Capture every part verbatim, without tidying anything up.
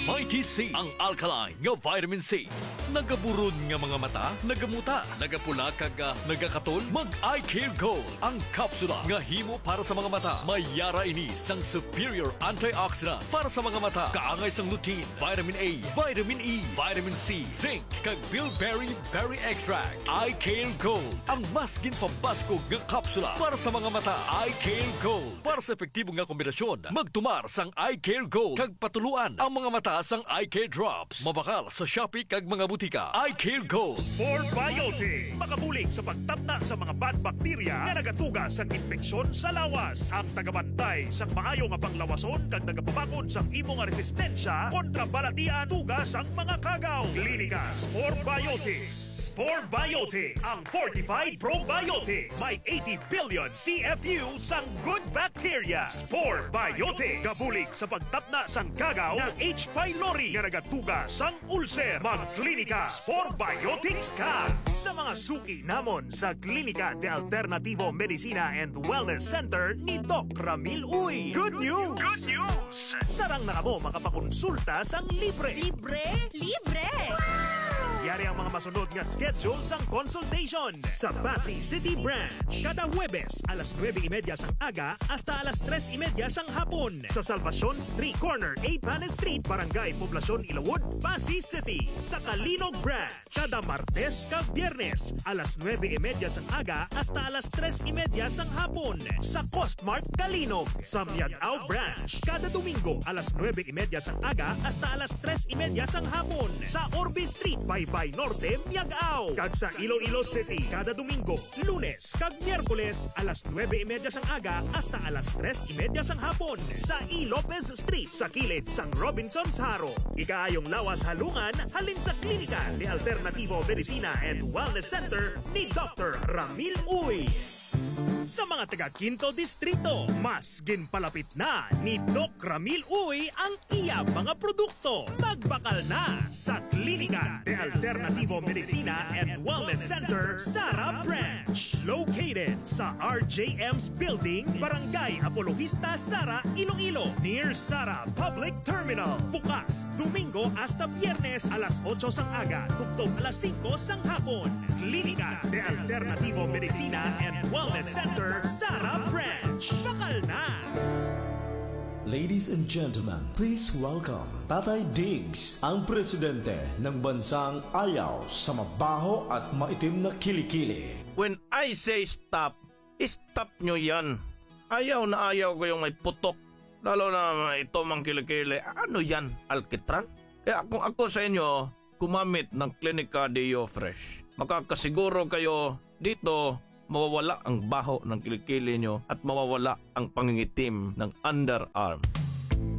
Mighty C, ang alkaline nga vitamin C. Nagaburon nga mga mata, nagamuta, nagapula kag, ah, nagakatol? Mag Eye Care Gold, ang kapsula nga himo para sa mga mata. May yara ini sang superior antioxidants para sa mga mata, kaangay sang lutein, vitamin A, vitamin E, vitamin C, zinc, kag bilberry berry extract. Eye Care Gold, ang mas ginpambaskog nga kapsula para sa mga mata. Eye Care Gold, para sa epektibo nga kombinasyon, magtumar sang Eye Care Gold kag patuluan ang mga mata sang Eye Care Drops. Mabakal sa Shopee kag mga butika. Eye Care Gold. Spore Biotics, makabulig sa pagtapna sa mga bad bakterya nga nagatuga sa impeksyon sa lawas. Ang tagabantay sang maayo nga panglawason kag nagapabakod sang imo nga resistensya kontra balatian tuga sang mga kagaw. Klinika Spore Biotics. Spore Biotics, ang fortified probiotics. May eighty billion C F U sang good bacteria. Spore Biotics, gabulig sa pagtapna sang kagaw nga H. pylori nga nagatuga sang ulcer. Magklinika Spore Biotics ka. Sa mga suki namon sa Klinika de Alternativo Medicina and Wellness Center ni Doc Ramil Uy. Good news! Good news! Sarang na kamo makapakonsulta sang libre. Libre? Libre! Yari ang mga masunod nga schedule sang consultation. Sa Passi City Branch, kada Huwebes, alas nuebe y media sang aga hasta alas tres y media sang hapon. Sa Salvacion Street, corner A Panes Street, Barangay Poblacion, Ilawod, Passi City. Sa Calinog Branch, kada Martes kag Biyernes, alas nuebe y media sang aga hasta alas tres y media sang hapon. Sa Costmart Calinog, sa Miag-ao Branch, kada Domingo, alas nuebe y media sang aga hasta alas tres y media sang hapon. Sa Orbe Street, Baybay Norte, Miag-ao. Kag sa Iloilo City, kada Domingo, Lunes kag Miyerkules, alas nuebe y media sang aga hasta alas tres y media sang hapon, sa E. Lopez Street, sa kilid sang Robinsons Jaro. Ikaayong lawas halungan halin sa Klinika de Alternativo Medicina and Wellness Center ni Doctor Ramil Uy. Sa mga taga Quinto Distrito, mas ginpalapit na ni Doc Ramil Uy ang iya mga produkto. Magbakal na sa Klinika de Alternativo Medicina and Wellness Center, Sara Branch. Located sa R J M's Building, Barangay Apologista, Sara, Iloilo, near Sara Public Terminal. Bukas Domingo hasta Biyernes, alas otso sang aga tubtob alas singko sang hapon. Klinika de Alternativo Medicina and Wellness Center, Sara Branch. Bakal na! Ladies and gentlemen, please welcome Tatay Diggs, ang presidente ng bansang ayaw sa mabaho at maitim na kilikili. When I say stop, stop nyo yan. Ayaw na ayaw ko yung may putok. Lalo na ito mang kilikili. Ano yan? Alkitran? Kaya kung ako sa inyo, gumamit ng Klinika Deo Fresh. Makakasiguro kayo dito, mawawala ang baho ng kilikili nyo at mawawala ang pangingitim ng underarm.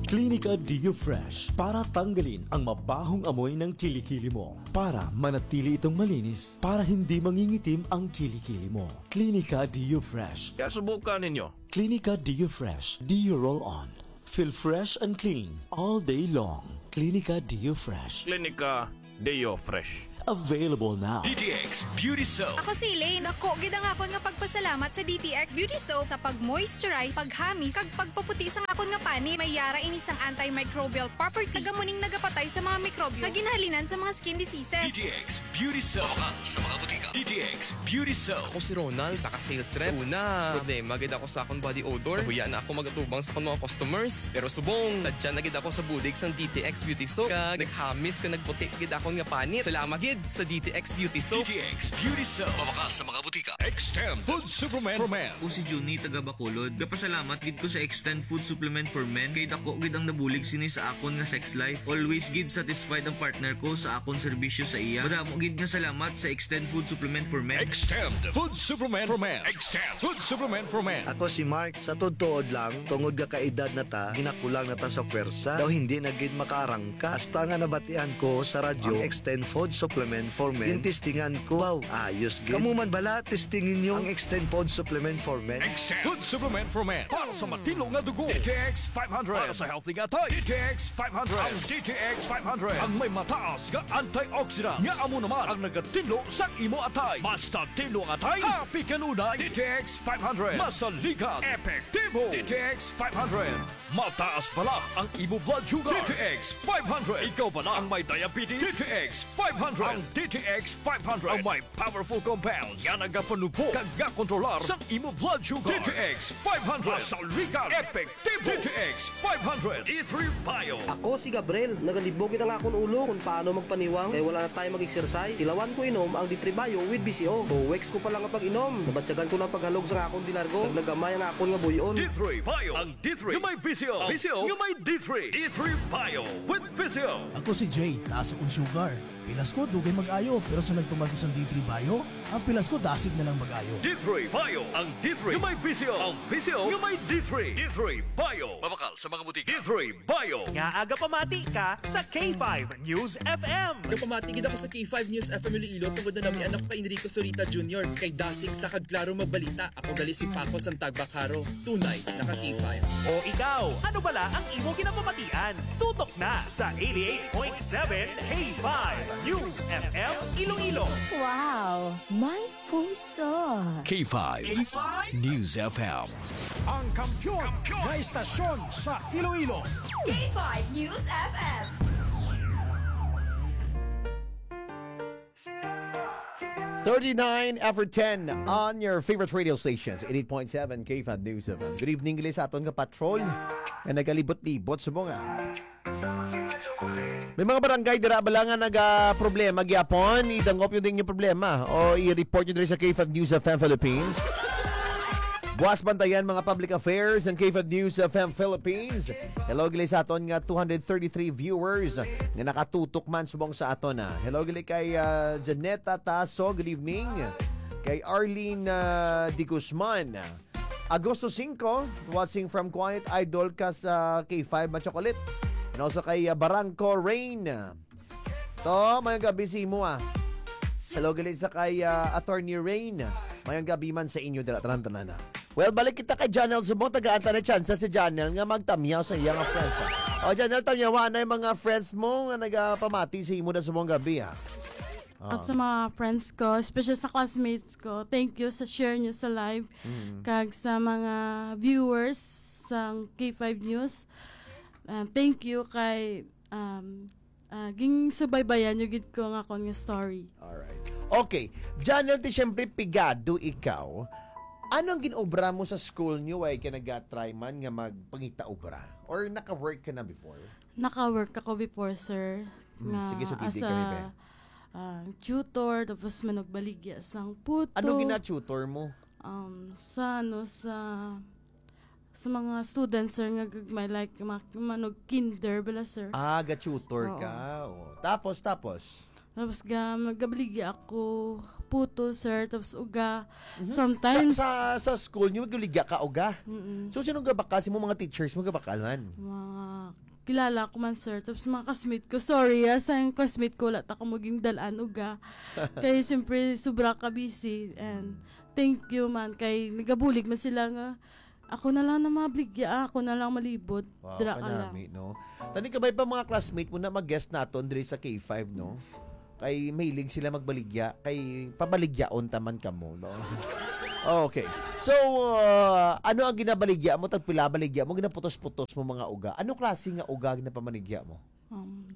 Klinika Deo Fresh para tanggalin ang mabahong amoy ng kilikili mo. Para manatili itong malinis, para hindi mangingitim ang kilikili mo. Klinika Deo Fresh. Kaya subukan ninyo. Klinika Deo Fresh Deo Roll On. Feel fresh and clean all day long. Klinika Deo Fresh. Klinika Deo Fresh. Available now. D T X Beauty Soap. Ako si Elaine. Dako gid ang akon nga pagpasalamat sa D T X Beauty Soap sa pag-moisturize, paghamis, kag pagpaputi sang akon nga panit. May yara ini sang antimicrobial property, kag amo ning nagapatay sa mga mikrobyo nga ginhalinan sa mga skin diseases. D T X Beauty Soap. Mabakal sa mga butika. D T X Beauty Soap. Ako si Ronald, isa ka sales rep. Sa una, problema gid ako sa akong body odor. Nahuya na ako magatubang sa akong mga customers. Pero subong, sadya na gid ako sa bulig sang D T X Beauty Soap. Kag naghamis kag nagputi gid akon nga panit. Salamat gid sa D T X Beauty Soap. D T X Beauty Soap. Mabakal sa mga butika. Extend Food Supplement for Men. Ako si Junie, taga Bacolod. Gapasalamat gid ko sa Extend Food Supplement for Men kay dako gid ang nabulig sini sa akon nga sex life. Always gid satisfied ang partner ko sa akon serbisyo sa iya. Madamo gid nga salamat sa Extend Food Supplement for Men. Extend Food Supplement for Men. Extend Food Supplement for Men. Ako si Mark. Sa tuod-tuod lang, tungod nga kaedad na ta, ginakulang na ta sa pwersa. Daw hindi na gid makaarangka. Hasta nga nabatian ko sa radyo, Extend Food Supplement for Men. Gintistingan ko. Wow, ayos gid. Kamo man bala, testingin nyo ang Extend Food Supplement for Men. Extend Food Supplement for Men para sa matino nga dugo. D T X five hundred para sa healthy nga atay. D T X five hundred. Ang D T X five hundred ang may mataas nga antioxidant nga amo naman ang nagatinlo sa imo atay. Basta tinlo ang atay, happy kanunay. D T X five hundred. Masaligan. Epektibo. D T X five hundred. Mataas bala ang imo blood sugar. D T X five hundred. Ikaw bala ang may diabetes? D T X five hundred. Ang D T X five hundred ang may powerful compounds nga nagapanubo kag gakontrolar sa imo blood sugar. D T X five hundred. Masaligan. Epektibo. D T X five hundred. D three Bio. Ako si Gabriel. Nagalibog gid ang akon ulo kung paano magpaniwang kay wala na tayo mag-exercise. Tilawan ko inom ang D three Bio with V C O. Two weeks ko pa lang ang pag-inom. Nabatyagan ko ng paghalog sa akon di largo. Naglagamay ang akon nga buyon. D three Bio. Ang D three nga may V C O. V C O nga may D three. D three Bio with V C O. Ako si Jay, taas akong sugar. Pilas ko, dugay mag-ayo, pero sa nagtuman ko sa D three Bio, ang pilas ko dasig na lang mag-ayo. D three Bio, ang D three nga may V C O. Ang V C O nga may D three. D three Bio. Mabakal sa mga butika. D three Bio. Nga aga pamati ka sa K five News F M. Gapamati gid ako sa K five News F M Iloilo tungod na namian ako kay Enrico Zurita Junior, kay dasig sa kag klaro magbalita. Ako gali si Paco Santagbakaro, tunay na ka K five. O ikaw, ano bala ang imo ginapamatian? Tutok na sa eighty-eight point seven K five News F M Iloilo. Wow, may puso. K five K five News F M. Ang kampiyon na istasyon sa Iloilo. K five News F M. Thirty-nine after ten on your favorite radio stations, eighty-eight point seven K five News F M. Good evening, gali sa aton nga patrol nga nagalibot-libot sa mga. May mga barangay dira bala nga naga problema gyapon, idangop yun din yung problema o i-report nyo diri sa K five News F M Philippines. Buwas bantayan mga public affairs ng K five News F M Philippines. Hello, gali sa aton nga two hundred thirty-three viewers nga nakatutok man subong sa aton, ah. Hello, gali kay, ah, Janeta Taso, good evening. Kay Arlene, ah, De Guzman. Agosto singko, watching from Quiet Idol ka sa K five Machocolit. And also kay, ah, Barangco Rain. To, mayong gabi sa imo, ah. Hello, gali sa kay, ah, Attorney Rain. Mayong gabi man sa inyo, dira, tanan-tanan, ah. Well, balik kita kay Janel Subong. Tagaan ta na chance si Janel nga magtamyaw sa iya nga friends, ah. O, Janel, tamyawa na yung mga friends mo nga nagapamati sa imo na subong gabi, ah. Ah. At sa mga friends ko, especially sa classmates ko, thank you sa share niyo sa live. Mm. Kag sa mga viewers sang K five News, ah, thank you kay, um, ah, ginsubaybayan niyo gid ko nga akon nga story. Alright. Okay. Janel, ti siyempre pigado ikaw. Ano ang ginobra mo sa school niyo? Way ka nag-try man nga magpangita obra? Or naka-work ka na before? Naka-work ako before, sir, Mm, nga sige, sugidi as kami, a, be. ah, tutor, tapos manugbaligya sang puto. Ano gina-tutor mo? Um, sa, ano, sa, sa mga students, sir, nga gagmay, like, ma-, manog kinder bala, sir. Ah, ga-tutor Oo. ka. Oh. Tapos, tapos? Tapos ga, magabaligya ako puto, sir, tapos uga. Mhm. Sometimes Sa, sa, sa school niyo, magabaligya ka uga? Mm-mm. So, sino gabakal? Si mo mga teachers mo gabakal man? Mga kilala ko man, sir. Tapos mga classmate ko, sorry, ah, sa yung classmate ko, wala ta ko maging dalan uga. Kaya siyempre, sobra ka busy. And thank you man, kay nagabulig man sila nga, ako na lang na mabligya, ah, ako na lang malibot. Wow, Dira ka lang. kanami, no? Tani ka ba pa mga classmate mo na mag-guest naton diri sa K five, no? Kay mahilig sila magbaligya, kay pabaligyaon taman kamo, no? Okay. So, uh, ano ang ginabaligya mo? Tagpila baligya mo? Ginaputos-putos mo mga uga? Ano klase nga uga ginapamaligya mo? Um,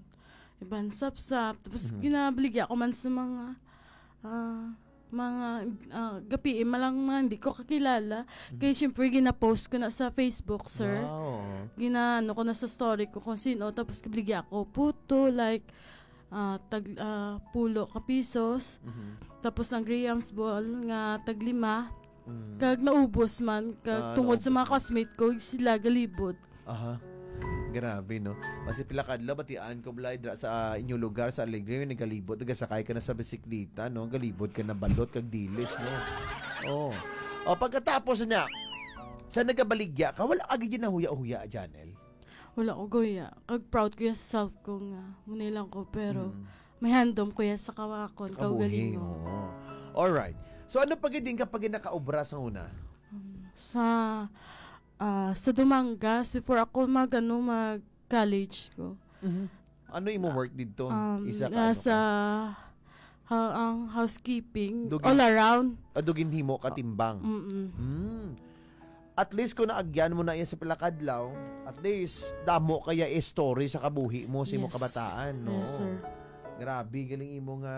iban sapsap. Tapos Mhm. ginabaligya ko man sa mga, ah, mga, ah, gapi, malang mga hindi ko kakilala. Mhm. Kaya syempre, gina-post ko na sa Facebook, sir. Wow. Ginaano ko na sa story ko kung sino. Tapos, kabligya ko, puto, like, ah, tag, ah, pulo ka pisos. Mhm. Tapos, ang Graham's ball nga tag lima. Mm. Kag naubos man, kag Ah, tungod sa mga naubos man. classmate ko, sila galibot. Aha. Grabe, no? Basi pila kadlaw, batian ko, Blay, dra sa, ah, inyo lugar, sa Alegre, may nagalibot, nagasakay ka na sa bisikleta, no? Galibot ka na balot, kag dilis, no? Oh. O, pagkatapos na, sa nagabaligya ka, wala ka gid nahuya-huya, Janel? Wala ko guya. Kag proud ko ya sa self ko nga, muna lang ko, pero Mm. May handom ko ya sa kawakon, Kabuhi, kaugalingon. Oo. Alright. So, ano pa gid din kapag nakaobra sa una? Um, sa, ah, sa Dumangas, before ako mag, ano, mag-college ko. Mhm. Ano imo work didto? Um, Isa ka, ah, ano sa ka? ha-, ang housekeeping, Dugin-, all around. Ah, duginhimo ka timbang? Mm-mm. Hmm. At least kung naagyan mo na iya sa pila ka adlaw, at least damo kaya story sa kabuhi mo sa imong Yes. kabataan, no? Yes, sir. Grabe, galing imo nga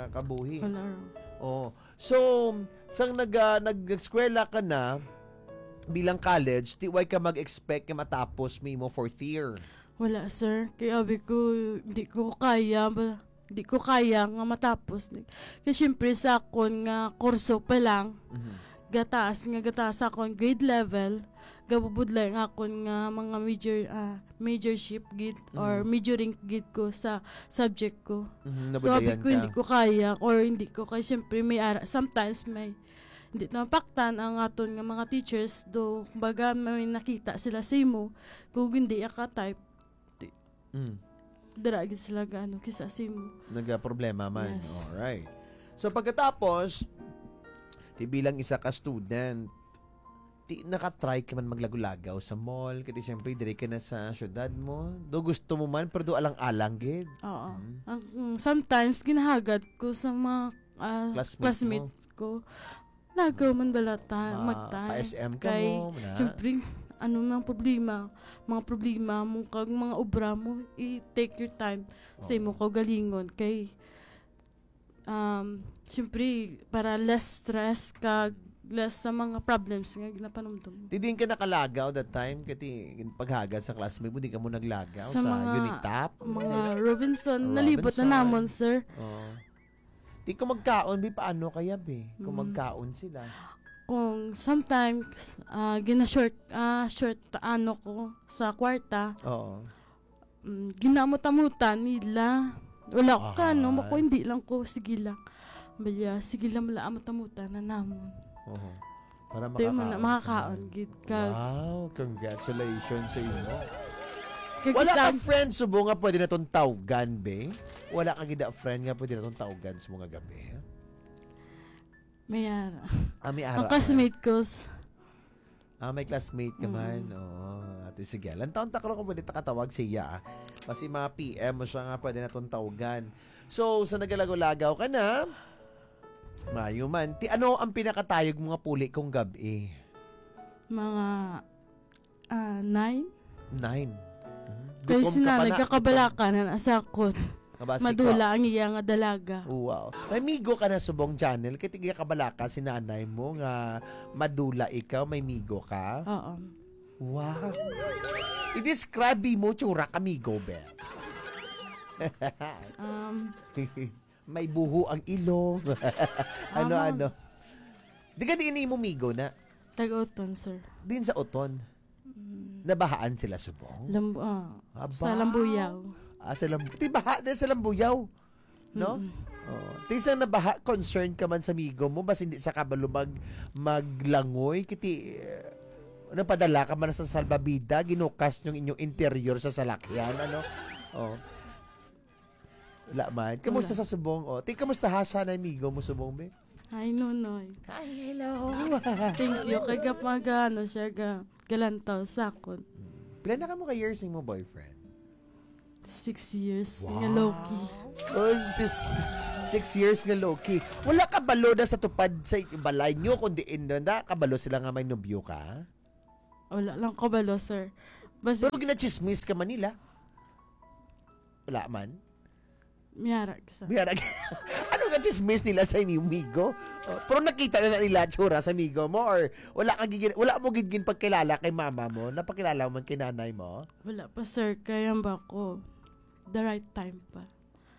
kabuhi. Wala. Oh. So, sang nag-, ah, nag-, nag-eskwela ka na bilang college, ti way ka mag-expect nga matapos mo imo fourth year? Wala, sir. Kay abi ko, di ko kaya ba, di ko kaya nga matapos. Kay siyempre sa akon nga kurso pa lang, Mhm. gataas nga gataas sa akon grade level, gabubudlay ang akon nga mga major, ah, majorship gid or Mhm. majoring gid ko sa subject ko. Mhm, So, abi nabudlayan ko, ka. hindi ko kaya or hindi ko kaya. Siyempre, may ara-, sometimes may hindi na mapaktan ang aton nga mga teachers, do, kumbaga, may nakita sila sa imo, kung hindi ka type, Mm. dira gid sila gaano, kisa sa imo. Nagaproblema man. Yes. Alright. So, pagkatapos, ti bilang isa ka student, ti nakatry ka man maglagaw-lagaw sa mall, kay ti siyempre, diri ka na sa syudad mo. Do gusto mo man, pero do alang-alang gid. Oo. Mm. Ang, mm, sometimes, ginahagad ko sa mga, ah, Classmate mo? classmates ko. Lagaw man bala ta, Ma-, magtay. pa-S M ka Kay, mo, na? siyempre, ano mang problema, mga problema mo, kag mga obra mo, i-take your time sa Oo. imo kaugalingon. Kay, um, siyempre, para less stress kag less sa mga problems nga ginapanumdum mo. Ti diin ka nakalagaw that time? Kay ti paghagad sa classmate mo, di ka mo naglagaw Sa sa mga, Unitap? mga Robinson, nalibot na Robinson. namon, sir. Oo. Ti kung magkaon, bi, paano kaya, bi? Kung Mm. magkaon sila? Kung sometimes, ah, gina-short, ah, short ano ko sa kwarta, Oo. mm, ginamot-amutan nila. Wala ko ka, no? Ahay. Ako, hindi lang ko, sige lang. Baya, sige lang, mala amot-amutan na namon. Oo. Para Di mo na makakaon ka makakaon, man. gid ka. Wow, congratulations sa imo. Kag Wala ka isang friend subong nga pwede naton tawgan, be? Wala ka gid friend nga pwede naton tawgan sa mga gabi? May ara. Ah, may ara. Ang classmate ko s- Ah, may classmate ka man. Mm. Oo. Ate, sige. Lantaw ta karon kung pwede ta katawag siya, ah. Basi ma-P M mo siya nga pwede naton tawgan. So, sa nagalagaw-lagaw ka na, mayo man. Ti, ano ang pinakatayog mo nga puli kung gab-i? Mga, ah, nine. Nine? Mhm. Kay Gutom si ka pa nanay na, gutom. kakabalaka na nasa akon. Kabasi ka. Madula ang iya nga dalaga. Wow. May migo ka na subong, Janel? Kay ti gakabalaka si nanay mo nga madula ikaw, may migo ka? Oo. Wow. I-describe mo, tsura ka migo, be. Um, May buho ang ilong. Ano, Mama. ano? Di ka diin imo migo na? Taga-Oton, sir. Din sa Oton? Mm. Nabahaan sila subong? Lambu-, ah, Aba. sa Lambuyaw. Ah, sa Lambu-, di baha din sa Lambuyaw? No? Mm-mm. Oh. Ti sa nabaha, concerned ka man sa migo mo, bas hindi sa kabalo mag-, maglangoy, kiti, eh, napadala ka man sa salbabida, ginukas yung inyong interior sa salakyan, ano? Oh. Wala man. Kamusta Wala. sa subong? Oh, ti, kamusta ha siya na amigo mo subong, be? Hi, Nonoy. Hi, hello. Thank you. Kay gap-, mag-, ano siya, ga-, galantaw sa akon. Hmm. Pila na kamo ka years mo boyfriend? Six years nga Wow. low-key. Oh, sis, six years nga low-key. Wala ka balo na sa tupad sa balay nyo, kundi in na kabalo sila nga may nobyo ka? Wala lang ko balo, sir. Basi Pero ginachismis ka man nila? Wala man? Miyara, kisa. Miyara. Ano nga chismis nila sa inyong migo? Oh, pero nakita na nila tsura sa migo mo, or wala ka gigin-, wala mo gid ginpagkilala kay mama mo? Napakilala mo man kay nanay mo? Wala pa, sir. Kaya ba ko? The right time pa.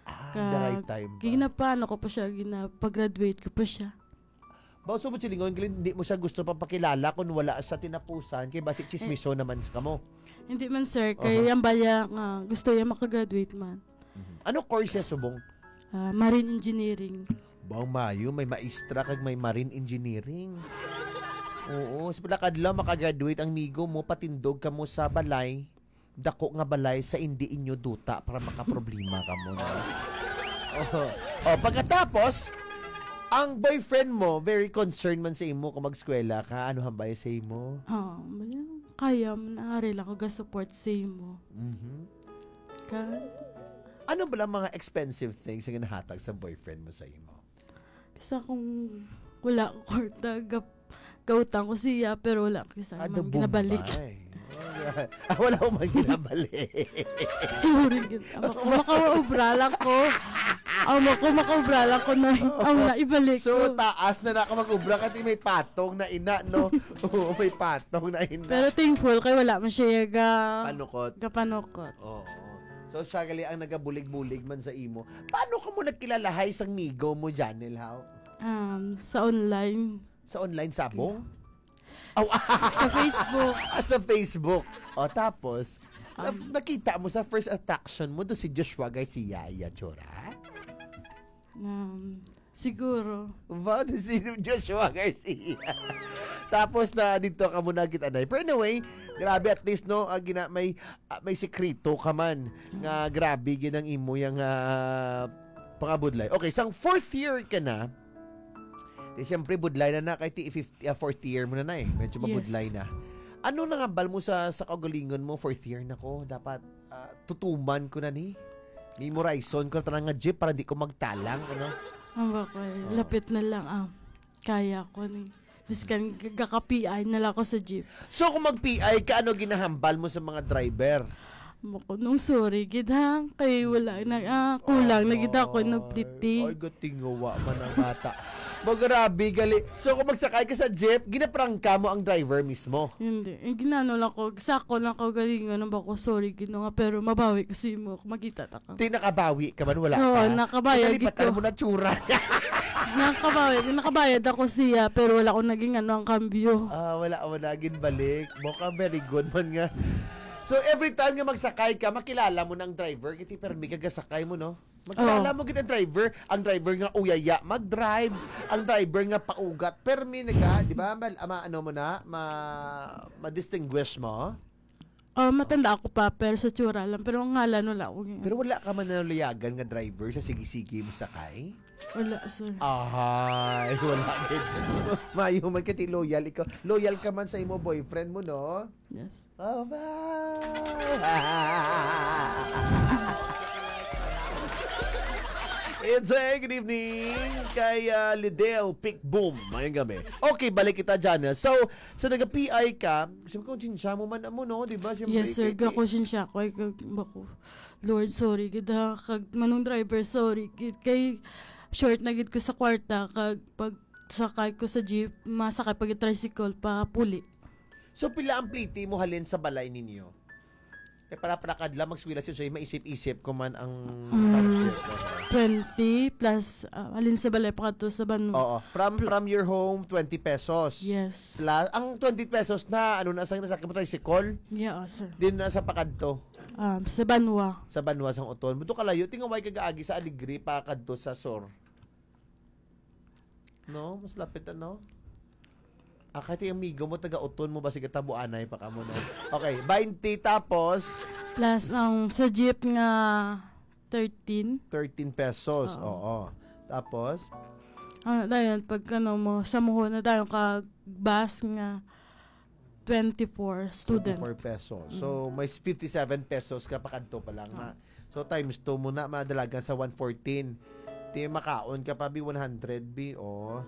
Ah, Ka-, the right time pa. Ginapaano ko pa siya, ginapag-graduate ko pa siya. Ba, so mo silingon, Glenn, hindi mo siya gusto papakilala kung wala sa tinapusan, kay basi chismiso Eh, naman sa kamo. Hindi man, sir, kay Aha. ang baya nga gusto niya makagraduate man. Mhm. Ano course siya subong? Ah, marine engineering. Bang mayo, may maestra kag may marine engineering. Oo, sa pila kadlaw makagraduate ang migo mo, patindog kamo sa balay, dako nga balay sa indi inyo duta para makaproblema kamo na. Oh, pagkatapos, ang boyfriend mo, very concerned man sa imo kung mag-eskwela ka, ano hambal sa imo? Ah, kaya man, ari lang ko ga-support sa imo. Mhm. Ka, Ano ba lang mga expensive things ang nahatag sa boyfriend mo sa imo? Sa kung wala ko kwarta, gap, gautang ko siya, pero wala ko sa Ano, man ginabalik. Bombay? Ah, wala ko man ginabalik. Sorry, gid. Ang maka- makaobra lang ko. Ang mako makaobra lang ko na ang naibalik So, ko. Taas na na ka mag-obra kasi may patong na ina, no? Oo, may patong na ina. Pero thankful kay wala man siya ga Panukot. Gapanukot. Oo. So, siya gali ang nagabulig-bulig man sa imo. Paano ka mo nagkilalahay sang migo mo, Janel, how? Um, sa online. Sa online sabong? Oh, Sa Facebook. Ah, sa Facebook. O, tapos, na- nakita mo sa first attraction mo do si Joshua Garcia, iya tsura? Um, siguro. Ba, do si Joshua Garcia. Tapos na dito ka muna kita na. Pero anyway, grabe, at least, no, ah, gina, may, ah, may sikreto ka man nga grabe gid ang imo yang, ah, pangabudlay. Okay, sang fourth year ka na, di siyempre budlay na na kay ti fifth, ah, fourth year mo na na eh. Medyo Yes. Mabudlay na. Ano nang hambal mo sa sa kaugalingon mo, fourth year na ko? Dapat, ah, tutuman ko na ni. Memorizon ko na tanan nga jeep para di ko magtalang, ano? Ang ba ko, eh, lapit na lang, ah. Kaya ko ni. Biskan gaka-P I na lang ako sa jeep. So kung mag-P I ka, ano ginahambal mo sa mga driver? Mako nung sorry gid ha, kay wala na, ah, kulang na gid ako nagpliti. Ay, gatingawa man ang bata. Magrabi gali. So kung magsakay ka sa jeep, ginaprangka mo ang driver mismo? Hindi. Eh, ginano lang ko, sako lang ko galingon ang bako, sorry gid no nga, pero mabawi ko si mo, makita ta ka. Ti nakabawi ka man, wala Oo, pa? Nakabayad Nalipatan gid ko. Mo na tsura. Nakabayad, nakabayad ako siya, pero wala ko naging ano ang kambyo. Ah, wala mo naging balik. Mo ka, very good man nga. So, every time nga magsakay ka, makilala mo na ang driver. Kiti permi ka gasakay mo, no? Magkilala Oo. Mo gid ang driver. Ang driver nga uyaya mag-drive. Ang driver nga paugat. Permi naga, di ba? Mal, ama, ano mo na? Ma, ma-distinguish mo? Oh, matanda ako pa, pero sa tsura lang. Pero ang ngalan, wala ko. Pero wala ka man naluyagan nga driver sa sige-sige mo sakay? Wala, sir. Ahay, wala gid. Mayo man kay loyal ikaw. Loyal ka man sa imo boyfriend mo, no? Yes. Oh, bye. It's a good evening kay, ah, Lidel Pick Boom. Mayong gabi. Okay, balik kita, Jana. So, so nag-P I ka, sabi ko, "Sinsya mo man mo, no?" Di ba? Siyempre, Yes, sir. kay- Gakonsensya ko. Ay, kag, bako. Lord, sorry gid ha. Kag manong driver, sorry gid. Kay short na gid ko sa kwarta. Kag pag sakay ko sa jeep, masakay pag tricycle pa puli. So, pila ang pliti mo halin sa balay ninyo? Eh, para para kadla magswila siya, so maisip-isip ko man ang Mm. budget mo. Twenty plus, ah, alin sa balay pa kadto sa banwa. Oo. From from your home, twenty pesos. Yes. Plus, ang twenty pesos na, ano na, sa nasakit mo, tricycle? Yeah, sir. Din na sa pakadto, Um, sa banwa. Sa banwa sang Oton. Buto kalayo, tingaway kag agi sa Alegre pa kadto sa Sur. No? Mas lapit, ano? Ah, kay ti amigo mo, taga Oton mo, basig tabuanay pa ka mo, no? Okay, twenty tapos? Plus, ang sa jeep nga thirteen. Thirteen pesos, Oo. Oo. Tapos? Ano, dayon, pag ano mo, sa muho na dayon ka bus nga twenty-four student. Twenty-four pesos. So, may fifty-seven pesos ka pakadto pa lang na. So, times two mo na, madalagan sa one fourteen. Ti makaon ka pa, bi, one hundred, bi, oh.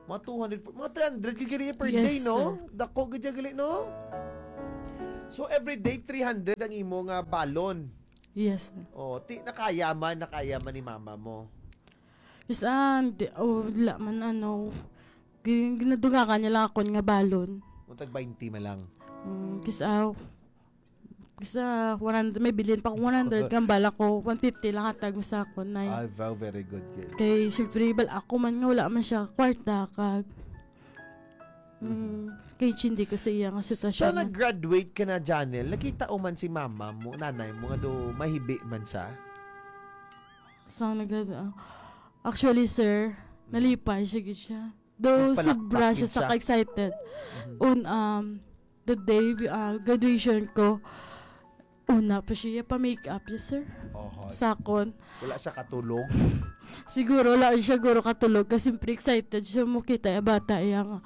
Mga two hundred, mga three hundred ka gali per Yes, day, no? Sir. Dako gid gali, no? So, every day, three hundred ang imo nga balon. Yes, sir. Oh, ti nakayaman, nakayaman ni mama mo. Is, ah, di, oh, wala man, ano, gin- ginadungakan niya lang ako nga balon. Kung tag twenty man lang. Mm, kis, ah, kis, ah, one hundred, may bilin pa akong one hundred, gambala ko, one fifty lang hatag mo sa ako, nay. Ah, wow, very good, good. Kay, siyempre, bal ako man nga, wala man siya kwarta, kag, mm, kay hindi ko sa iya nga Sa sitwasyon. nag-graduate ka na, Janel, nakita mo man si mama mo, nanay mo, nga do mahibi man siya? Sa nag ah, actually, sir, nalipay siya gid siya. Though, Nagpalakpak sobra siya gid siya. sa ka-excited. On, um, the day, ah, graduation ko, Una pa siya pa-make up, yes, sir. Oho. Sakon. Wala siya katulog? Siguro, wala siya guro katulog kasi siyempre excited siya mo kita yung bata, yung,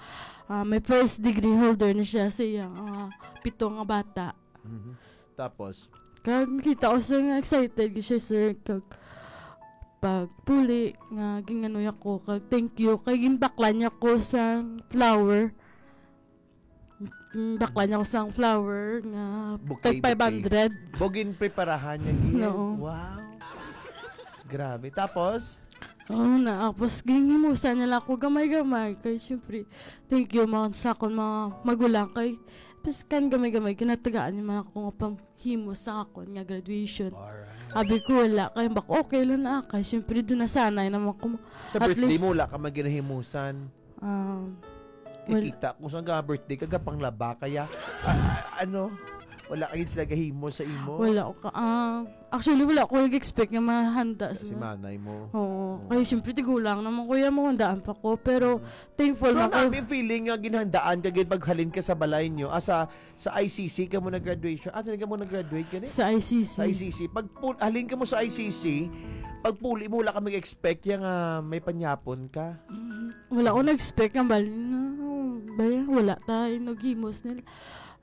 ah, may first degree holder na siya sa iyang, ah, pito nga bata. Mhm. Tapos? Kag nakita ko siya nga excited siya, sir. Kag pagpuli nga ginganoy ako, kag thank you. Kay ginbaklan niya ko sang flower. Mm, bakla niya ko sang flower nga Bouquet, tag five hundred. Bouquet. Bugin preparahan niya, gid. Oo. Wow. Grabe. Tapos? Oo na. Tapos, ginhimusan niya lang ako gamay-gamay. Kay, syempre, thank you, mga sa akon, mga magulang. Kay, piskan gamay-gamay, ginatagaan niya man ako nga panghimos sa akon nga graduation. Alright. Abi ko, wala. Kay, bak, okay lang na. Kay, syempre, doon nasanay naman ako. Sa At birthday least mo, wala ka man ginahimusan? Um, well, Kikita ko sa nga birthday ka, gapanglaba kaya, ah, ah, ano, wala ka gid sila gahimo sa imo? Wala ko ka, ah, actually, wala ko nag-expect nga mahanda Si sila. Manay mo. Oo. Oo. Kaya siyempre, tigulang naman, kuya, mo, handaan pa ko. Pero, Mm. thankful Pero man ko. Nami feeling nga ginhandaan ka gid paghalin ka sa balay nyo. Ah, sa, sa I C C ka mo nag-graduation. Ah, saan ka mo nag-graduate ka ni? Sa I C C. Sa I C C. Pag pul-, halin ka mo sa I C C, pag puli mo, wala ka mag-expect yan nga may panyapon ka. Mm, wala ko nag-expect nga bali na, bali, wala tayo naghimos nila.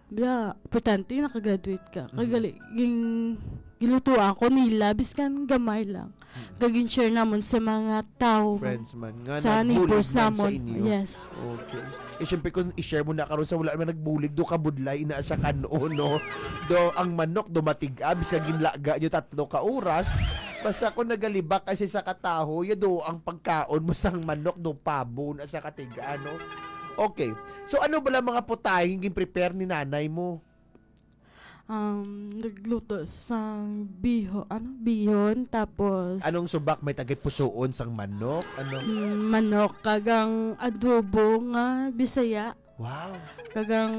Bala, importante, nakagraduate ka. Kay Mhm. gali, ging-, gilutuan ko nila, biskan gamay lang. Mhm. Gagin share namon sa mga tao. Friends man. Nga sa neighbors nagbulig man sa namon. Inyo. Yes. Okay. Eh, syempre, kung i-share mo na karon sa wala naman nagbulig, do kabudlay na siya kanon, no? Do, ang manok, do matig-a, biskan ginlaga nyo tatlo ka oras. Basta kung nagalibak kasi sa kataho, ya do ang pagkaon mo sang manok, do pabo na sa katiga, no? Okay. So, ano bala mga putahe nga gin-prepare ni nanay mo? Um, nagluto sang biho-, ano, bihon, tapos Anong subak may tagay pusuon sang manok? Ano? Mm, manok, kag ang adobo nga Bisaya. Wow. Kag ang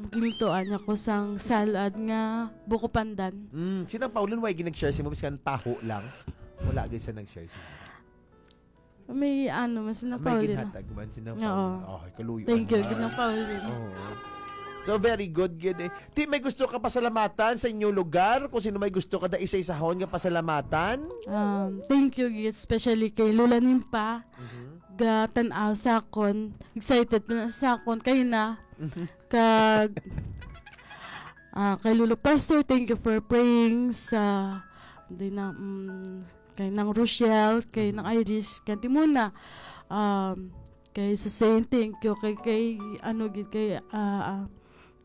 gilutoan niya ko sang salad nga buko pandan. Mm, si Nang Pauline, why gid nag-share sa imo? Biskan taho lang. Wala gid siya nag-share sa imo. May ano, mas na May Paulina. Ginhatag man si Nang Oo. Paulina. Oh, kaluyo. Thank you, Nang Paulina. Oo. So, very good, gid eh. Ti, may gusto ka pasalamatan sa inyong lugar? Kung sino may gusto ka da isa-isahon nga pasalamatan? Um, thank you, gid, especially kay Lola Nimpa. Mhm. Gatan-aw sa akon. Excited na sa akon. Kay na. Mhm. Kag, ah, kay Lolo Pastor, thank you for praying sa, di na, mm, kay Nang Rochelle, kay Nang Iris, kay Timona, um, kay Susain, thank you, kay, kay, ano, gid, kay, ah, ah,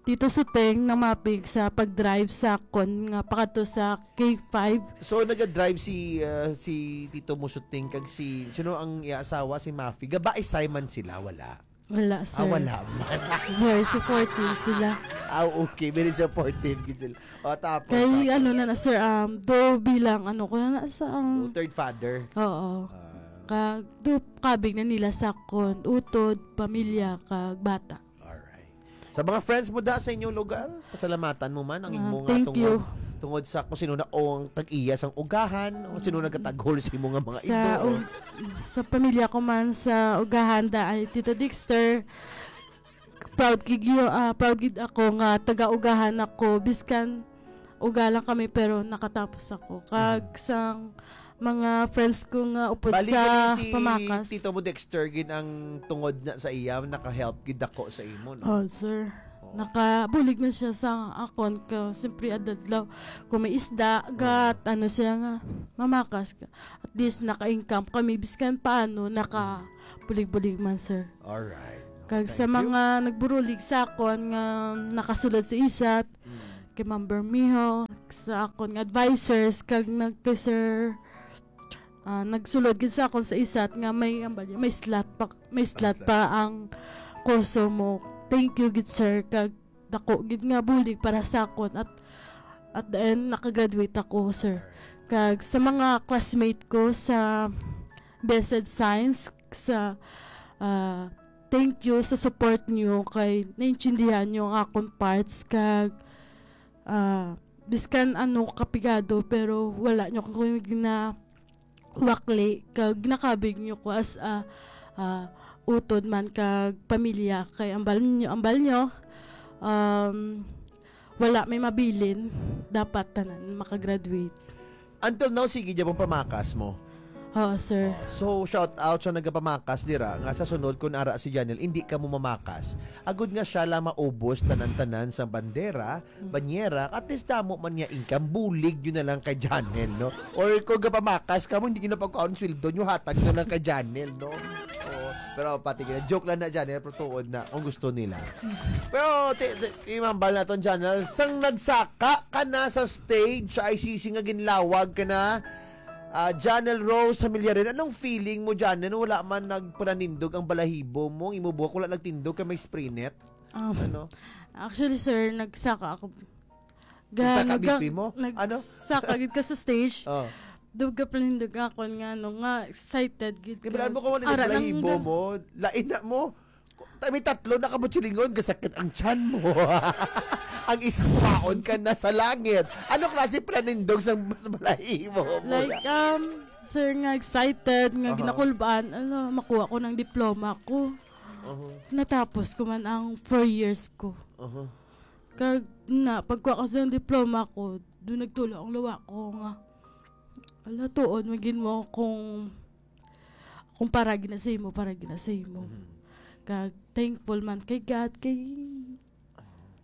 Tito Suteng, Nang Mapig sa pag-drive sa akon nga pakadto sa K five. So, naga-drive si, ah, si Tito mo Suteng kag si, sino ang iya asawa? Si Mafi. Gabaisay man sila, wala? Wala, Ah, sir. Wala man. Very supportive sila. Ah, okay. Very supportive gid sila. O, tapos, Kay tapos? ano na na, sir, um, do bilang ano ko na na sa, um, Do third father? Oo. Ah. Kag do kabig na nila sa kon, utod, pamilya, kag bata. Alright. Sa mga friends mo da sa inyong lugar, pasalamatan mo man ang Ah, imo nga thank tungod, you. Tungod sa kung sino na o ang tag-iya sang ugahan, o sino Mm. nagataghol sa imo nga mga Sa, ido. um, sa pamilya ko man sa ugahan da ay Tito Dexter, proud gid yo-, ah, proud gid ako nga taga-ugahan ako, biskan uga lang kami, pero nakatapos ako. Kag Mhm. sang mga friends ko nga upod Bali sa gani si Pamakas. Tito mo Dexter gid ang tungod na sa iya, naka-help gid ako sa imo, no? Oh, sir. Oo. Nakabulig man siya sa akon ka, siyempre, adlaw-adlaw. Kung may isda, Oo. gat, ano siya nga, mamakas ka. At least, naka-income kami. Biskan paano, nakabulig-bulig man, sir. Alright. Kag Thank sa you. mga nagburulig sa akon nga nakasulod sa isat, Mm. kay Ma'am Bermejo, sa akon nga advisors, kag nag-, kay Sir, ah, nagsulod gid sa akon sa isat nga may, ang bali, may slot pa, may slot Slot. pa ang kurso mo. Thank you gid, sir, kag dako gid nga bulig para sa akon at, at the end, nakagraduate ako, sir. Alright. Kag sa mga classmate ko sa Blessed Science, sa, ah, thank you sa support niyo kay naintindihan niyo ang akon parts kag, ah, biskan ano kapigado pero wala niyo ko ginawakli kag ginakabig niyo ko as a, ah, utod man kag pamilya kay ambal niyo, ambal niyo, um, wala may mabilin, dapat tanan makagraduate. Until now, sige gyapon pamakas mo? Oo, sir. Oh, so, shout out sa nagapamakas dira nga sa sunod, kung ara si Janel, hindi ka mo mamakas. Agud nga siya lang maubos tanan-tanan sa bandera, banyera, at least damo man niya income, bulig yun na lang kay Janel, no? Or kung gapamakas ka mo, hindi nyo na pagkaon sweldo nyo, hatag na lang kay Janel, no? Oo. Pero pati gina, joke lang na, Janel, pero tuod na, kung gusto nila. Pero, ti, ti, imambal naton, Janel, sang nagsaka ka na sa stage sa I C C nga ginlawag ka na, ah, Janel Rose Familiarin, anong feeling mo, Janel, wala man nagpananindog ang balahibo mo, ang imo buhok wala nagtindog kay may spray net? Um, Ano? Actually, sir, nagsaka ako. Ga, Nagsaka nagga-, B P mo? Ano? Nagsaka gid ka sa stage. Oh. Dugga pa nindog akon nga, ano, nga excited gid Di ba ka. mo kung ano Ara yung lang balahibo da. mo? Lain na mo. Ta-, may tatlo na kabutsilingon, gasakit ang tiyan mo. Ang isang paon ka na sa langit. Ano klase pananindog sa, sa balahibo mo? Like, um, sir, nga excited, nga Aha. ginakulbaan, ano, makuha ko ng diploma ko. Aha. Natapos ko man ang four years ko. Aha. Kag na, pagkuha ko sa diploma ko, doon nagtulo ang luwa ko nga, "Ala, tuod, magin mo kung, kung para ginasay mo, para ginasay mo." Mhm. Kag thankful man kay God, kay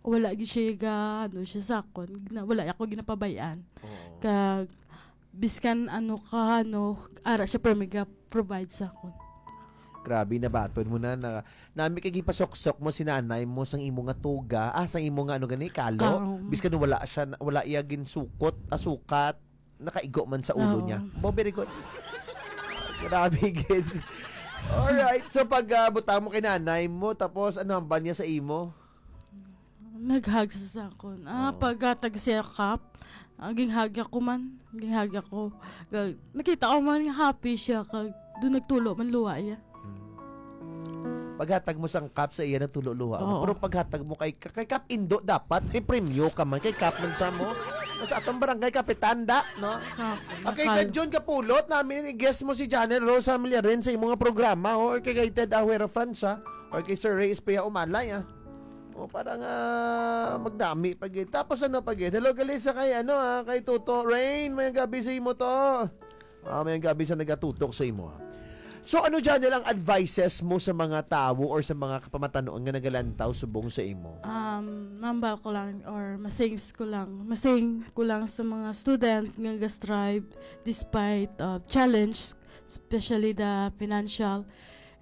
wala gyud siya ga, ano, siya sa akon. Gina-, wala ako ginapabayaan. Oo. Kag, biskan ano ka, ano, ara siya, pero may ga-provide sa akon. Grabe, nabaton mo na, na, nami kay gipasoksok mo si nanay mo sang imo nga tuga, ah, sang imo nga, ano gani, kalo. Kaon. Biskan wala siya, wala iya ginsukot, ah, sukat, nakaigo man sa ulo Oo. niya. Bo, very good. Grabe, gid. Alright, so pag, ah, butang mo kay nanay mo, tapos ano hambal niya sa imo? Nag-hug siya sa akon. Ah, Oo. paghatag siya cup, ah, ginghug ako man. Ginghug ako. Ga-, nakita ko man nga happy siya, kag doon nagtulo man luwa iya. Hmm. Paghatag mo sang cup sa iya, nagtulo luwa mo. Oo. Pero paghatag mo kay, kay Kap Indo, dapat may premyo ka man. Kay Kap man sa mo. Sa atong barangay, kapitan da, no? Ah, Okay, nakal- kay John Kapulot, namin i-guest mo si Janel Rose Familiarin sa imong programa, o kay, kay Ted Ahuero Franz, ha? Or kay Sir Ray Espea Umalay, ah. O, para nga magdami pa gid. Tapos ano pa gid? Hello, gali sa kay, ano, ah, kay Toto Rain. May gabi sa imo to. Ah, may gabi sa nagatutok sa imo, ah. So, ano, Janel, ang advices mo sa mga tawo or sa mga kapamatanuan nga nagalantaw subong sa imo? Um, mambal ko lang or masings ko lang. Masing ko lang sa mga students nga ga-strive despite of challenge, especially the financial,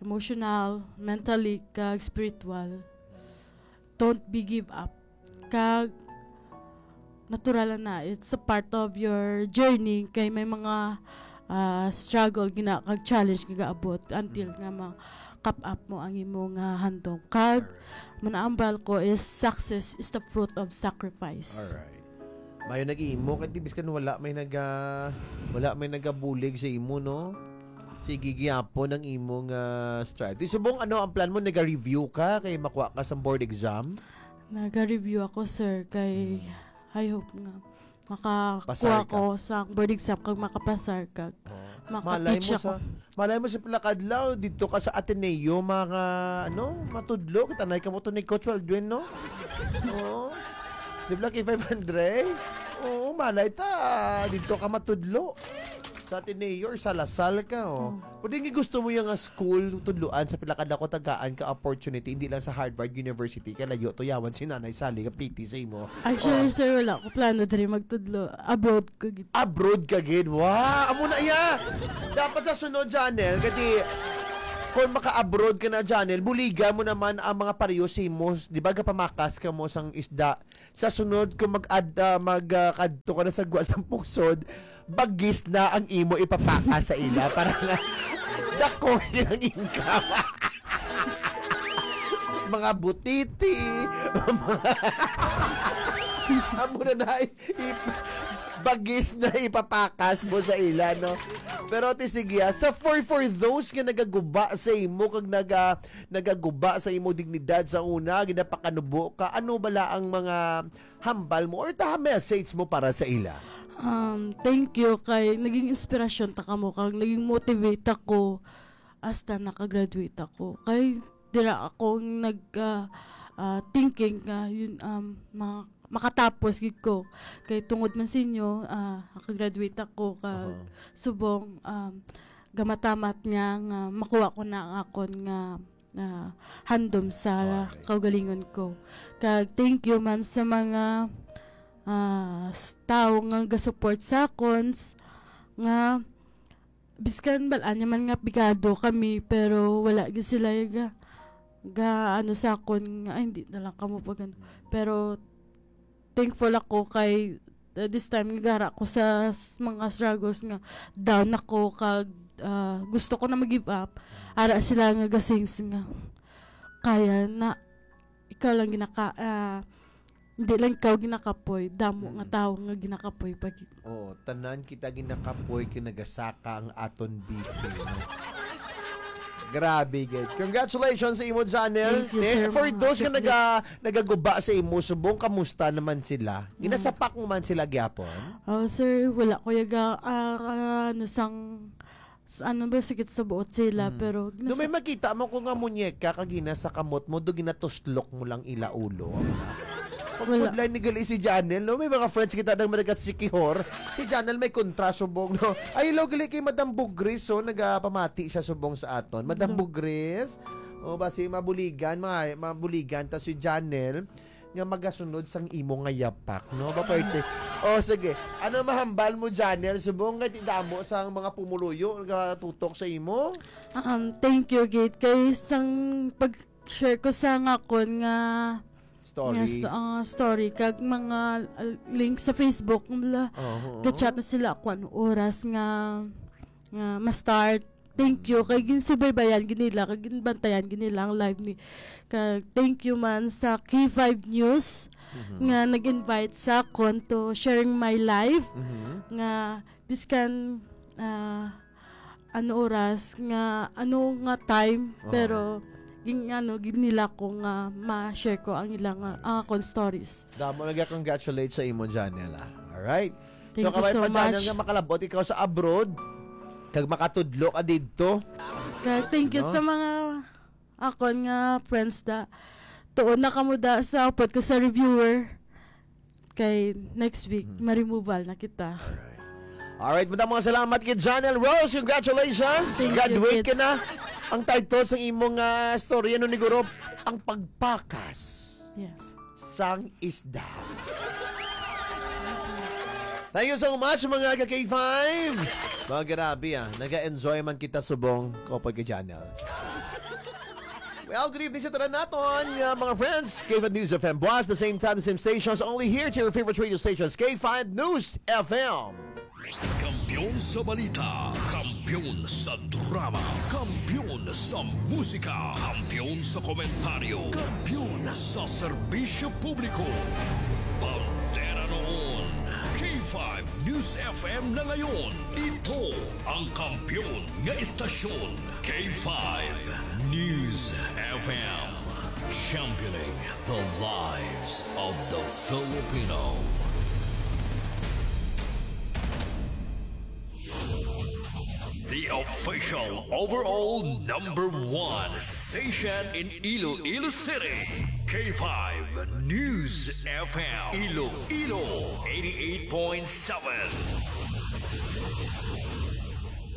emotional, mentally, kag spiritual. Don't be give up. Kag natural na, it's a part of your journey kay may mga, ah, struggle gina kag challenge nga gaabot until Mm. nga ma-cap up mo ang imo nga handom. Kag Alright. manaambal ko is success is the fruit of sacrifice. Alright. Mayo nag-imo kay di biskan wala may naga-, wala may nagabulig sa imo, no? Sige gyapon ang imo nga strive. Di subong ano ang plan mo, naga-review ka kay makuha ka sa board exam? Naga-review ako, sir, kay Hmm. I hope nga makakuha Pasar ka. ko sa board exam kag makapasar kag Oh. maka-teach Malay mo ako. sa, malay mo sa pila ka adlaw dito ka sa Ateneo, mga ano, matudlo kita na ikaw to ni Coach Aldwin, no? Oo. Di ba, K five hundred? Oo, malay ta, dito ka matudlo. Sa Ateneo or sa La Salle ka, oh. Hmm. Pwede nga gusto mo yung nga school, tudluan sa pila ka dako tagaan ka opportunity, hindi lang sa Harvard University, kay layo to yawan si Nanay Sally nga pretty sa imo. Actually, Oh. sir, wala ko plano diri magtudlo. Abroad ko gid. Abroad ka gid? Wow! Amo na iya! Dapat sa sunod, Janel, kadi kung maka-abroad ka na, Janel, buligan mo naman ang mga pareho sa imo, di ba, gapamakas ka mo sang isda. Sa sunod, kung mag-ad-, ah, mag, ah, kadto ka na sa Guas ng Pusod, bagis na ang imo ipapaka sa ila para nga dako ang income. Mga butiti, mga amo na na, ip-, bagis na ipapakas mo sa ila, no? Pero ti sige, ah, sa for, for those nga nagaguba sa imo kag naga-, nagaguba sa imo dignidad sa una, ginapakanubo ka, ano bala ang mga hambal mo or ta message mo para sa ila? Um, thank you kay naging inspirasyon ta kamo kag naging motivate ako hasta nakagraduate ako. Kay dira ako nag, ah, ah, thinking nga yun, um, mga makatapos gid ko. Kay tungod man sa inyo, ah, nakagraduate ako, kag Aha. subong, um, gamatamat niya nga makuha ko na ang akon nga, ah, handom sa Alright. kaugalingon ko. Kag thank you man sa mga, ah, s-, tawo nga gasupport sa akon, s-, nga biskan bal-an niya man nga pigado kami, pero wala gid sila ga, ga ano sa akon nga, "Ay, hindi na lang kamo pag ano." Pero thankful ako kay, uh, this time nga gara ko sa s-, mga struggles nga down ako kag, uh, gusto ko na mag-give up. Ara sila nga gasings nga, "Kaya na, ikaw lang ginaka-, ah, hindi lang ikaw ginakapoy, damo nga Mm. tawo nga ginakapoy pa gid." Oo, tanan kita ginakapoy kay nagasaka ang aton B P, no? Grabe gid. Congratulations sa imo, Janel. Thank you, Eh, sir, for mga those nga Chef naga-, nagaguba sa imo, subong, kamusta naman sila? Mm. Ginasapak mo man sila gyapon? Oh, sir, wala ko yaga, ah, ah, ano sang, s-, ano ba, sakit sa buot sila, Mm. pero No, may ginasa- makita mo ko nga munyeka kag ginasakamot mo, do ginatuslok mo lang ila ulo. Wala. Pagpudlay ni gali si Janel, no? May mga friends kita nang madagat si Kihor. Si Janel may kontra subong, no? Ay, hello, gali kay Madam Bugris, so nagapamati siya subong sa aton. Madam Hello. Bugris, o ba si mabuligan, mga mabuligan ta si Janel nga magasunod sang imo nga yapak, no? Ba, parte. O, sige. Ano mahambal mo, Janel? Subong kay ti damo sang mga pumuluyo nagatutok sa imo? Um, thank you, gid. Kay sang pag-share ko sa nga akon nga Story. nga st-, ah, story, kag mga, ah, link sa Facebook, mula, Oho. ga-chat na sila kung ano oras nga, nga ma-start. Thank you. Kay ginsubaybayan gid nila, kag ginbantayan gid nila ang live ni, kag thank you man sa K five News Mhm. nga nag-invite sa akon to sharing my live, Mhm. nga biskan, ah, ano oras, nga ano nga time, Oo. pero gin-, ano, gid nila ko nga ma-share ko ang ilang, ah, ang akon stories. Damo nag-congratulate sa imo, Janela. Alright. Thank So, you kabay so pa, Janel, much. nga makalabot ikaw sa abroad, kag makatudlo ka didto. Kag thank you No? sa mga akon nga friends da. Tuon na kamo da sa upod ko sa reviewer. Kay next week, Hmm. ma-removal na kita. Alright. Alright, madamo nga salamat kay Janel Rose. Congratulations. Thank you, Graduate kid. ka na. Ang title sang imong, ah, story, ano ni Guro? Ang pagpakas Yes. sang isda. Thank you so much, mga ka-K five. Mga grabe, ah. Naga-enjoy man kita subong, Kopod ka Janel. Well, good evening sa tanan naton, uh, mga friends. K five News F M Buas, the same time, same stations, only here to your favorite radio stations, K five News F M. Kampiyon sa balita, kampiyon sa drama, kampiyon sa musika, kampiyon sa komentaryo, kampiyon sa serbisyo publiko. Bandera noon, K five News F M na ngayon. Ito ang kampiyon nga istasyon. K five News F M, championing the lives of the Filipino. The official overall number one station in Iloilo City, K five News F M, Iloilo eighty-eight point seven.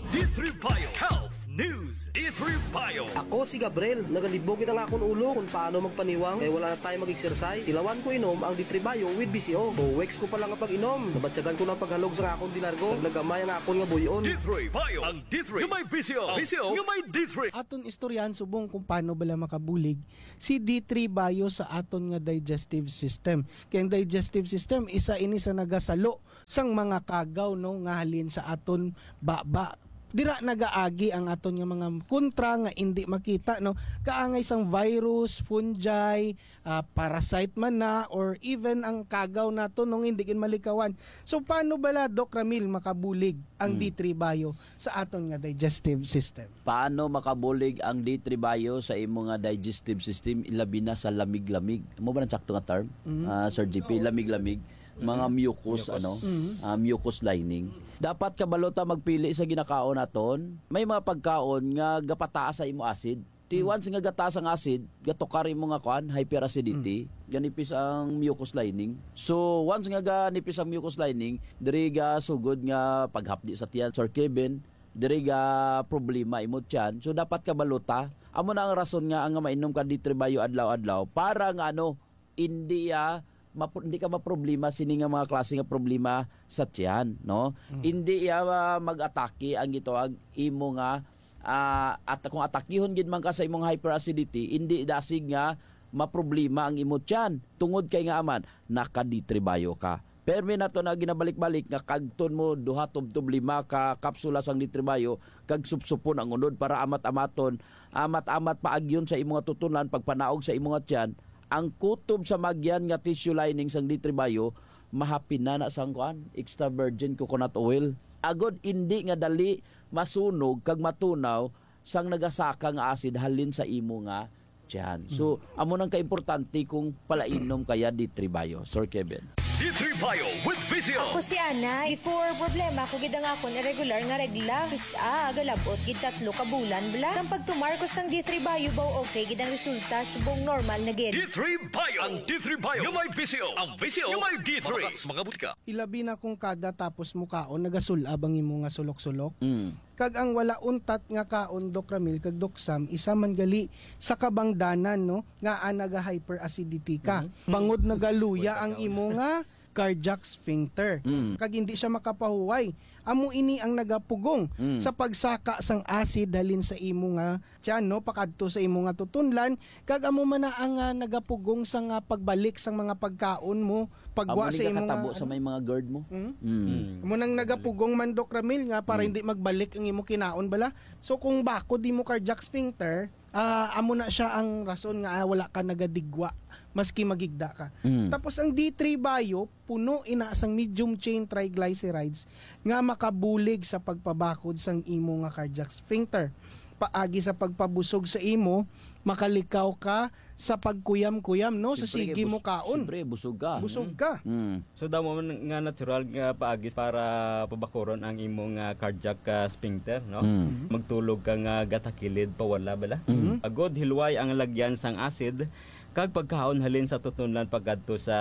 D three Bio Health News, D three Bio. Ako si Gabriel. Nagalibog gid ang akon ulo kung paano magpaniwang kay wala na tayo mag-exercise. Tilawan ko inom ang D three Bio with V C O. Two weeks ko pa lang ang pag-inom, nabatyagan ko na ang paghalog sa akon dilargo. Naglagamay ang akon nga buy-on. D three Bio, ang D three nga may V C O. V C O nga may D three. Aton istoryahan subong kung paano bala makabulig si D three Bio sa aton nga digestive system. Kay ang digestive system, isa ini sa nagasalo sang mga kagaw, no, nga halin sa aton baba. Dira nagaagi ang aton nga mga kontra nga indi makita, no? Kaangay sang virus, fungi, ah, parasite man na, or even ang kagaw nato, no, nga hindi gid malikawan. So, paano bala, Doc Ramil, makabulig ang Mm. D three Bio sa aton nga digestive system? Paano makabulig ang D three Bio sa imo nga digestive system, ilabi na sa lamig-lamig? Amo ba ang sakto nga term? Mm. Ah, Sir G P, lamig-lamig. Mga mucus, Mucus. ano, Mm. ah, mucus lining. Dapat kabalo ta magpili sa ginakaon naton. May mga pagkaon nga gapataas sa imo acid. Ti Mm. once nga gataas ang acid, gatukar imo nga kuan, hyperacidity. Mm. ganipis ang mucus lining. So, once nga ganipis ang mucus lining, diri ga sugod nga paghapdi sa tiyan, Sir Kevin, diri ga problema imo tiyan. So, dapat kabalo ta. Amo na ang rason nga ang mainom ka D three Bio adlaw-adlaw para nga ano, hindi, ah, mapro-, hindi ka maproblema sini nga mga klase nga problema sa tiyan, no? Mm. Hindi, ah, mag-atake ang gitawag imo nga, ah, at kung atakihon gid man ka sa imong hyperacidity, hindi dasig nga maproblema ang imo tiyan tungod kay nga aman naka D three Bio ka. Permi nato na ginabalik-balik nga kagton mo duha tubtob lima ka kapsula sang D three Bio kag supsupon ang unod para amat-amaton, amat-amat paagyon sa imo nga tutunan, pagpanaog sa imo nga tiyan, ang kutob sa magyan nga tissue lining sang D three Bio, mahapin na na sang kuan, extra virgin coconut oil. Agod indi nga dali masunog kag matunaw sang nagasaka nga acid halin sa imo nga tiyan. So, amo nang kaimportante kung palainom kaya D three Bio, Sir Kevin. D three Bio with Visio. Ako si Ana. Before, problema ko gid ang akon irregular nga regla. Kis-a, galabot gid tatlo ka bulan bala. Sang pagtumar ko sang D three Bio, baw okay gid ang resulta, subong normal na gid. D three Bio. Ang D three Bio nga may Visio. Ang Visio nga may D three. Mga butika. Ilabi na kung kada tapos mo kaon, nagasul-ab ang imo nga sulok-sulok. Mm. Kag ang wala untat nga kaon, Doc Ramil kag Doc Sam, isa man gali sa kabangdanan, no, nga, ah, naga-hyperacidity ka. Mhm. Bangod nagaluya ang imo nga cardiac sphincter. Mm. Kag hindi siya makapahuway. Amo ini ang nagapugong Mm. sa pagsaka sang acid halin sa imo nga tiyan, no, pakadto sa imo nga tutunlan. Kag amo man na ang, ah, nagapugong sa nga pagbalik sang mga pagkaon mo, pagwa Amo ni sa imo nga, katabo sa ano? May mga GERD mo. Mm. Mm. Mm. Amo nang nagapugong man, Doc Ramil, nga para Mm. hindi magbalik ang imo kinaon bala. So, kung bakod imo cardiac sphincter, ah, amo na siya ang rason nga, ah, wala ka nagadigwa, maski magigda ka. Mm. Tapos ang D three Bio, puno ina sang medium chain triglycerides nga makabulig sa pagpabakod sang imo nga cardiac sphincter. Paagi sa pagpabusog sa imo, makalikaw ka sa pagkuyam-kuyam, no? Sa Siyempre, sige bus-, mo kaon. Siyempre, busog ka. Busog Mm. ka. Mm. So, damo man nga natural nga paagi para pabakuron ang imong, ah, cardiac, ah, sphincter, no? Mm. Magtulog ka nga gatakilid pa wala bala. Mm. Agod hilway ang lagyan sang acid kag pagkaon halin sa tutunlan pagkadto sa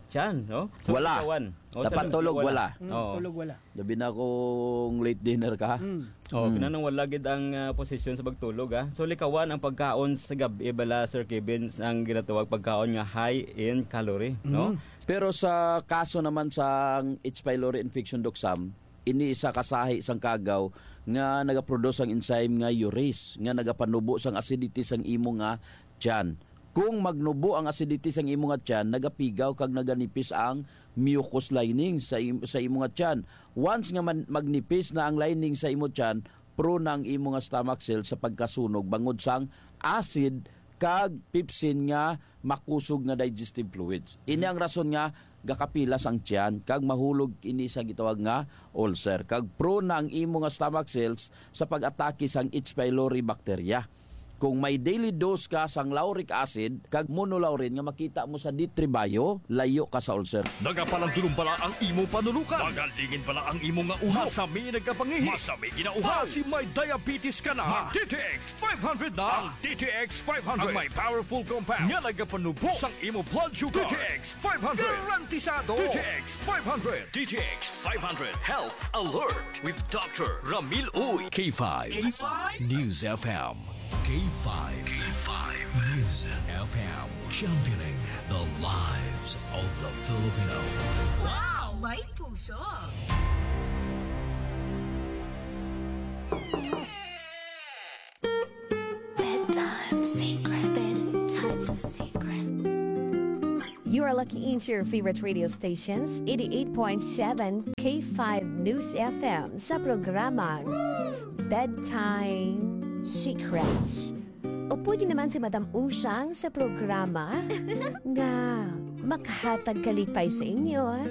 tiyan, no? So, Wala. Kawan. O, sa Dapat loob, tulog, wala. Wala. Mm, Oo. Tulog wala. Labi na kung late dinner ka. Mm. Oh, Mm. kinanang wala gid ang, ah, posisyon sa pagtulog, ah. So, likawan ang pagkaon sa gab-i bala, Sir Kevin, ang ginatawag pagkaon nga high in calorie, no? Mm. Pero sa kaso naman sa H. pylori infection, Doc Sam, ini isa ka sahi sang kagaw nga nagaproduce ang enzyme nga urease nga nagapanubo sang acidity sang imo nga tiyan. Kung magnubo ang acidity sang imo nga tiyan, nagapigaw kag naganipis ang mucus lining sa im-, sa imo nga tiyan. Once nga man-, magnipis na ang lining sa imo tiyan, prone na ang imo nga stomach cells sa pagkasunog bangod sang acid kag pepsin nga makusog nga digestive fluids. Ini ang rason nga gakapilas ang tiyan kag mahulog ini sa gitawag nga ulcer. Kag prone na ang imo nga stomach cells sa pag-atake sang H. pylori bacteria. Kung may daily dose ka sang lauric acid kag monolaurin nga makita mo sa D three Bio, layo ka sa ulcer. Nagapalandulong bala ang imo panulukan? Magalingin bala ang imo nga ulo? Masami nagkapangihi? Masami ginauhaw? Basi may diabetes ka na? Mag D T X five hundred na. Ang D T X five hundred ang may powerful compound nga nagapanubo sang imo blood sugar. D T X five hundred. Garantisado. D T X five hundred. D T X five hundred Health Alert with Doctor Ramil Uy. K five K five News F M. K five K five News F M. Championing the lives of the Filipino. Wow! May puso! Bedtime secret. Bedtime secret. You are lucky into your favorite radio stations, eighty-eight point seven K five News F M sa programang Bedtime Secrets. O pwede naman si Madam Usang sa programa nga makahatag kalipay sa inyo.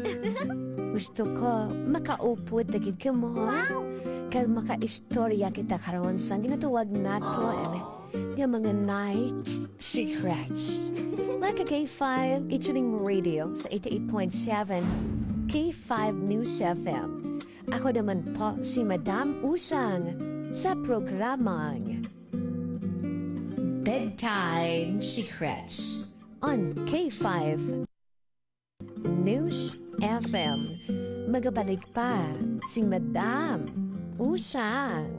Gusto ko makaupod na gid kamo. Wow! Kag makaistorya kita karon sa ginatawag naton nga mga night secrets. Mga ka K five, i-tune mo radio sa eighty-eight point seven K five News F M. Ako naman po si Madam Usang sa programang Bedtime Secrets. on K five News F M. Magabalik pa si Madam Usang.